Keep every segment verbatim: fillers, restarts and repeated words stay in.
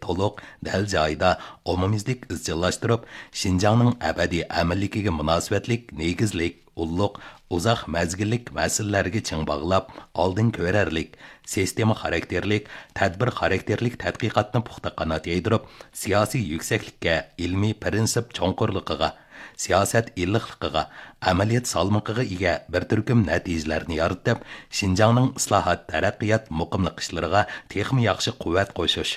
تولۇق، دەل جايىدا، ئومۇميۈزلۈك ئىزچىللاشتۇرۇپ، شىنجاڭنىڭ ئەبەدىي ئەمىنلىكىگە مۇناسىۋەتلىك نېگىزلىك، ئۇللۇق، ئۇزاق مەزگىللىك مەسىلىلەرگە چىڭ باغلاپ، ئالدىن كۆرەرلىك، سىستېما خاراكتېرلىك، تەدبىر خاراكتېرلىك تەتقىقاتنى پۇختا قانات يايدۇرۇپ، سىياسىي يۈكسەكلىككە، ئىلمىي پىرىنسىپ چوڭقۇرلۇقىغا، سىياسەت ئىللىقلىقىغا، ئەمەلىيەت سالمىقىغا ئىگە بىر تۈركۈم نەتىجىلەرنى يارىتىپ، شىنجاڭنىڭ ئىسلاھات، تەرەققىيات، مۇقىملىق ئىشلىرىغا تېخىمۇ ياخشى قۇۋۋەت قوشۇش،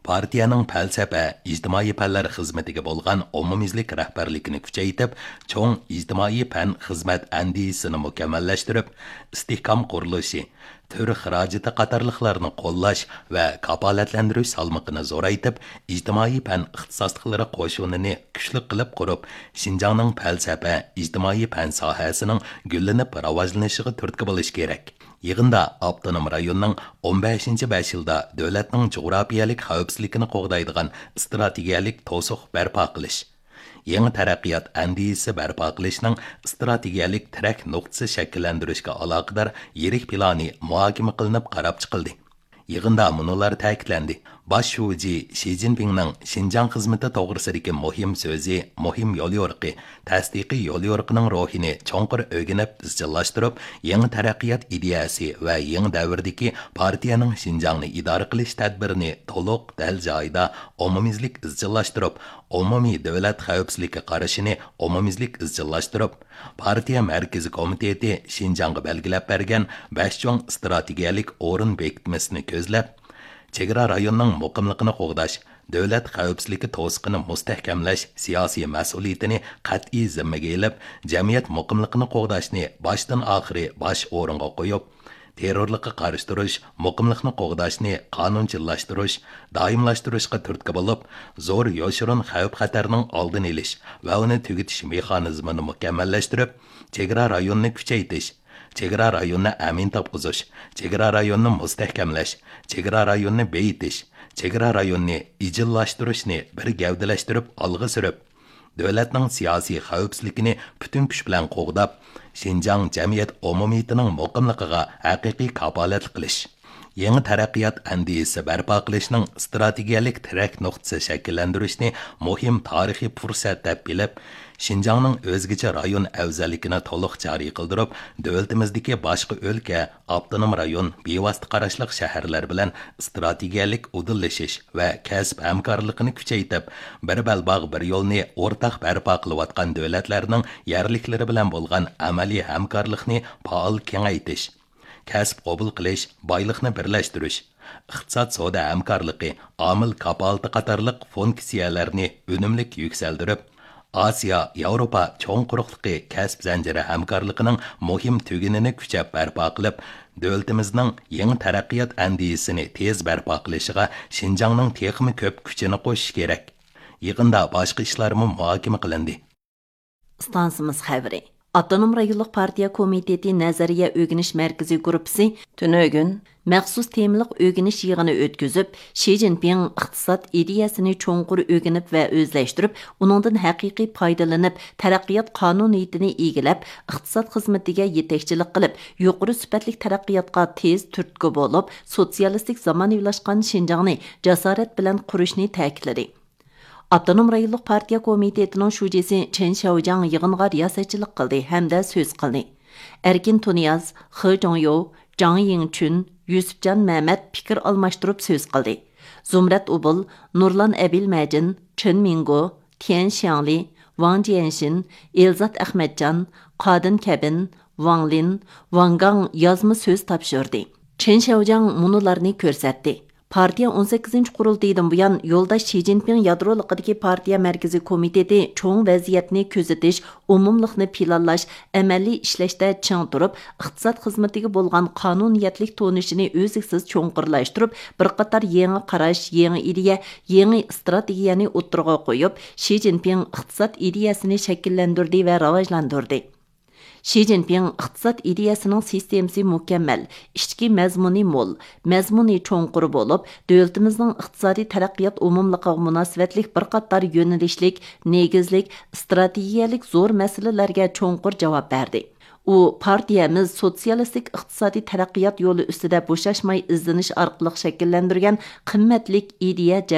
پارتىيەنىڭ پەلسەپە، ئىجتىمائىي پەنلەر خىزمىتىگە بولغان ئومۇميۈزلۈك رەھبەرلىكىنى كۈچەيتىپ، چوڭ ئىجتىمائىي پەن خىزمەت ئەندىزىسىنى مۇكەممەللەشتۈرۈپ، ئىستىھكام قۇرۇلۇشى، تۈر خىراجىتى قاتارلىقلارنى قوللاش ۋە كاپالەتلەندۈرۈش سالمىقىنى زورايتىپ، ئىجتىمائىي پەن ئىختىساسلىقلىرى قوشۇنىنى كۈچلۈك قىلىپ قۇرۇپ، شىنجاڭنىڭ پەلسەپە، ئىجتىمائىي پەن ساھەسىنىڭ گۈللىنىپ راۋاجلىنىشىغا تۈرتكە بولۇش كېرەك. يىغىندا ئاپتونوم رايوننىڭ ئون بەشىنچى بەش يىلدا دۆلەتنىڭ جۇغراپىيەلىك خەۋپسىزلىكىنى قوغدايدىغان ئىستراتېگىيەلىك توسۇق بەرپا قىلىش، يېڭى تەرەققىيات ئەندىزىسى بەرپا قىلىشنىڭ ئىستراتېگىيەلىك تىرەك نۇقتىسى شەكىللەندۈرۈشكە ئالاقىدار يىرىك پىلانى مۇھاكىمە قىلىنىپ قاراپ چىقىلدى. يىغىندا مۇنۇلار تەكىتلەندى: باش شۇجى شى جىنپىڭنىڭ شىنجاڭ خىزمىتى توغرىسىدىكى مۇھىم سۆزى، مۇھىم يوليورۇقى، تەستىقىي يوليورۇقىنىڭ روھىنى چوڭقۇر ئۆگىنىپ ئىزچىللاشتۇرۇپ، يېڭى تەرەققىيات ئىدىيەسى ۋە يېڭى دەۋردىكى پارتىيەنىڭ شىنجاڭنى ئىدارە قىلىش تەدبىرىنى تولۇق، دەل جايىدا، ئومۇميۈزلۈك ئىزچىللاشتۇرۇپ، ئومۇمىي دۆلەت خەۋپسىزلىككە قارىشىنى ئومۇميۈزلۈك ئىزچىللاشتۇرۇپ، پارتىيە مەركىزىي كومىتېتى شىنجاڭغا بەلگىلەپ بەرگەن بەش چوڭ ئىستراتېگىيەلىك ئورۇن بېكىتمىسىنى كۆزلەپ، چېگرا رايوننىڭ مۇقىملىقىنى قوغداش، دۆلەت خەۋپسىزلىكى توسۇقىنى مۇستەھكەملەش سىياسىي مەسئۇلىيىتىنى قەتئىي زىممىگە ئېلىپ، جەمئىيەت مۇقىملىقىنى قوغداشنى باشتىن ئاخىرى باش ئورۇنغا قويۇپ، تېررورلۇققا قارشى تۇرۇش، مۇقىملىقنى قوغداشنى قانۇنچىللاشتۇرۇش، دائىملاشتۇرۇشقا تۈرتكە بولۇپ، زور يوشۇرۇن خەۋپ-خەتەرنىڭ ئالدىنى ئېلىش ۋە ئۇنى تۈگىتىش مېخانىزمىنى مۇكەممەللەشتۈرۈپ، چېگرا رايونىنى كۈچەيتىش، چېگرا رايونىنى ئەمىن تاپقۇزۇش، چېگرا رايونىنى مۇستەھكەملەش، چېگرا رايونىنى بېيىتىش، چېگرا رايونىنى ئىجىللاشتۇرۇشنى بىر گەۋدىلەشتۈرۈپ ئالغا سۈرۈپ، دۆلەتنىڭ سىياسىي خەۋپسىزلىكىنى پۈتۈن كۈچ بىلەن قوغداپ، شىنجاڭ جەمئىيەت ئومۇمىيىتىنىڭ مۇقىملىقىغا ھەقىقىي كاپالەتلىك قىلىش، يېڭى تەرەققىيات ئەندىزىسى بەرپا قىلىشنىڭ ئىستراتېگىيەلىك تىرەك نۇقتىسى شەكىللەندۈرۈشنى مۇھىم تارىخىي پۇرسەت دەپ بىلىپ، شىنجاڭنىڭ ئۆزگىچە رايون ئەۋزەللىكىنى تولۇق جارى قىلدۇرۇپ، دۆلىتىمىزدىكى باشقا ئۆلكە، ئاپتونوم رايون، بىۋاسىتە قاراشلىق شەھەرلەر بىلەن ئىستراتېگىيەلىك ئۇدۇللىشىش ۋە كەسىپ ھەمكارلىقىنى كۈچەيتىپ، بىر بەلباغ، بىر يولنى ئورتاق بەرپا قىلىۋاتقان دۆلەتلەرنىڭ يەرلىكلىرى بىلەن بولغان ئەمەلىي ھەمكارلىقنى پائال كېڭەيتىش، كەسىپ قوبۇل قىلىش، بايلىقنى بىرلەشتۈرۈش، ئىقتىساد سودا ھەمكارلىقى، ئامىل كاپالىتى قاتارلىق فۇنكسىيەلەرنى ئۈنۈملۈك يۈكسەلدۈرۈپ، ئاسىيا، ياۋروپا چوڭ قۇرۇقلۇقى كەسىپ زەنجىرى ھەمكارلىقىنىڭ مۇھىم تۈگۈنىنى كۈچەپ بەرپا قىلىپ، دۆلىتىمىزنىڭ يېڭى تەرەققىيات ئەندىزىسىنى تېز بەرپا قىلىشىغا شىنجاڭنىڭ تېخىمۇ كۆپ كۈچىنى قوشۇشى كېرەك. يىغىندا باشقا ئىشلارمۇ مۇھاكىمە قىلىندى. ئىستانسىمىز خەۋىرى. ئاپتونوم رايونلۇق پارتىيە كومىتېتى نەزەرىيە ئۆگىنىش مەركىزى گۇرۇپپىسى تۈنۈگۈن مەخسۇس تېمىلىق ئۆگىنىش يىغىنى ئۆتكۈزۈپ، شى جىنپىڭ ئىقتىساد ئىدىيەسىنى چوڭقۇر ئۆگىنىپ ۋە ئۆزلەشتۈرۈپ، ئۇنىڭدىن ھەقىقىي پايدىلىنىپ، تەرەققىيات قانۇنىيىتىنى ئىگىلەپ، ئىقتىساد خىزمىتىگە يېتەكچىلىك قىلىپ، يۇقىرى سۈپەتلىك تەرەققىياتقا تېز تۈرتكە بولۇپ، سوتسىيالىستىك زامانىۋىلاشقان شىنجاڭنى جاسارەت بىلەن قۇرۇشنى تەكىتلىدى. ئاپتونوم رايونلۇق پارتىيە كومىتېتىنىڭ شۇجىسى چېن شياۋجياڭ يىغىنغا رىياسەتچىلىك قىلدى ھەمدە سۆز قىلدى. ئەركىن تۇنىياز، خې جۇڭيو، جاڭ يىڭچۈن، يۈسۈپجان مەمەت پىكىر ئالماشتۇرۇپ سۆز قىلدى. زۇمرەت ئوبۇل، نۇرلان ئەبىلمەجىن، چېن مىڭگو، تيەن شياڭلى، ۋاڭ جيەنشىن، ئېلزات ئەخمەتجان، قادىن كەبىن، ۋاڭ لىن، ۋاڭ گاڭ يازما سۆز تاپشۇردى. چېن شياۋجياڭ مۇنۇلارنى كۆرسەتتى. پارتىيە ئون سەككىزىنچى قۇرۇلتىيىدىن بۇيان يولداش شى جىنپىڭ يادرولۇقىدىكى پارتىيە مەركىزىي كومىتېتى چوڭ ۋەزىيەتنى كۆزىتىش، ئومۇملۇقنى پىلانلاش، ئەمەلىي ئىشلەشتە چىڭ تۇرۇپ، ئىقتىساد خىزمىتىگە بولغان قانۇنىيەتلىك تونۇشىنى ئۈزلۈكسىز چوڭقۇرلاشتۇرۇپ، بىر قاتار يېڭى قاراش، يېڭى ئىدىيە، يېڭى ئىستراتېگىيەنى ئوتتۇرىغا قويۇپ، شى جىنپىڭ ئىقتىساد ئىدىيەسىنى شەكىللەندۈردى ۋە راۋاجلاندۇردى. شى جىنپىڭ ئىقتىساد ئىدىيەسىنىڭ سىستېمىسى مۇكەممەل، ئىچكى مەزمۇنى مول، مەزمۇنى چوڭقۇر بولۇپ، دۆلىتىمىزنىڭ ئىقتىسادىي تەرەققىيات ئومۇملۇقىغا مۇناسىۋەتلىك بىر قاتار يۆنىلىشلىك، نېگىزلىك، ئىستراتېگىيەلىك زور مەسىلىلەرگە چوڭقۇر جاۋاب بەردى. ئۇ پارتىيەمىز سوتسىيالىستىك ئىقتىسادىي تەرەققىيات يولى ئۈستىدە بوشاشماي ئىزدىنىش ئارقىلىق شەكىللەندۈرگەن قىممەتلىك ئىدىيە،